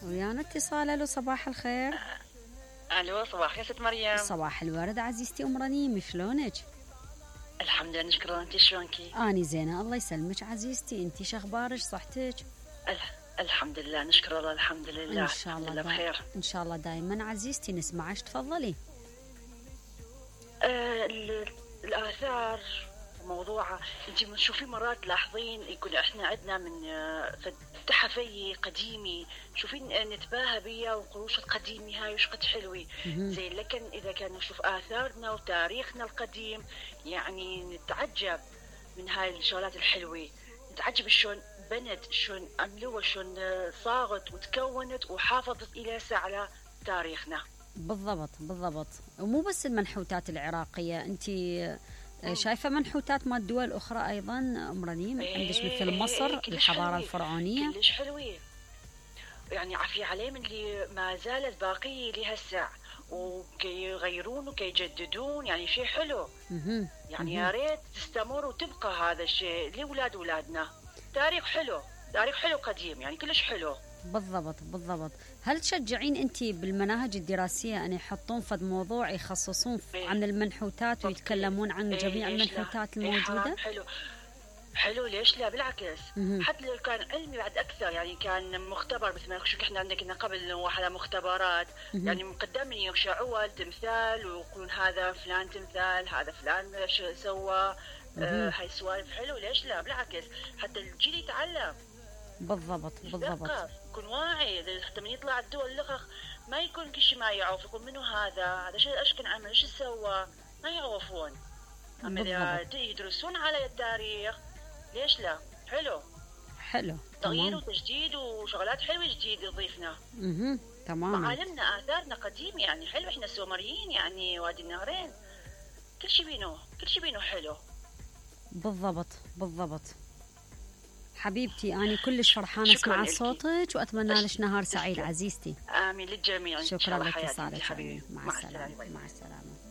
ويانا اتصال. الو صباح الخير. الو صباح الخير ست مريم. صباح الورد عزيزتي ام رنيم، شلونك؟ الحمد لله نشكر الله. انت شلونكي؟ اني زينه الله يسلمك عزيزتي. انت شخبارك صحتك؟ الحمد لله نشكر الله. الحمد لله ان شاء الله بخير ان شاء الله دائما عزيزتي. نسمعك تفضلي. الآثار موضوعها انت تشوفي مرات تلاحظين يكون احنا عندنا من تحفي قديمي شوفين نتباهى بيها وقروش القديمي هاي وش قد حلوي زين، لكن اذا كان نشوف آثارنا وتاريخنا القديم يعني نتعجب من هاي الشغلات الحلوة. نتعجب شلون بنت، شلون عملوها، شلون صاغت وتكونت وحافظت الى هسه على تاريخنا. بالضبط بالضبط. ومو بس المنحوتات العراقية، انت شايفة منحوتات مال دول أخرى أيضا أم رنيم؟ عندك مثل مصر الحضارة الفرعونية كلش حلوة، يعني عافية عليه من اللي ما زالت باقية لهسه وكي يغيرون وكي يجددون، يعني شيء حلو. يعني يا ريت تستمر وتبقى هذا الشيء لأولاد أولادنا. تاريخ حلو، تاريخ حلو قديم، يعني كلش حلو. بالضبط بالضبط. هل تشجعين أنت بالمناهج الدراسية أن يحطون فد موضوع يخصصون عن المنحوتات ويتكلمون عن جميع المنحوتات الموجودة؟ حلو حلو، ليش لا؟ بالعكس حتى لو كان علمي بعد اكثر، يعني كان مختبر مثل ما شو احنا عندنا قبل واحد مختبرات يعني مقدمين يشعوا تمثال ويقولون هذا فلان تمثال، هذا فلان شو سوى. هاي سوالف حلو، ليش لا؟ بالعكس حتى الجيل يتعلم. بالضبط بالضبط. يكون واعي حتى من يطلع الدول الاخر ما يكون كل شيء ما يعرف، يقول منو هذا شو ايش كان عمل، ايش سوى، ما يعرفون. اما اذا يدرسون على التاريخ ليش لا؟ حلو حلو. تغيير وتجديد وشغلات حلوه جديد يضيفنا. تمام. معالمنا آثارنا قديم يعني حلو، احنا سومريين يعني وادي النهرين كل شيء بينه حلو. بالضبط بالضبط. حبيبتي أنا كلش فرحانة اسمع صوتك وأتمنى لك نهار سعيد عزيزتي. آمين للجميع. شكرا لاتصالك حبيبي. مع السلامة. مع السلامة.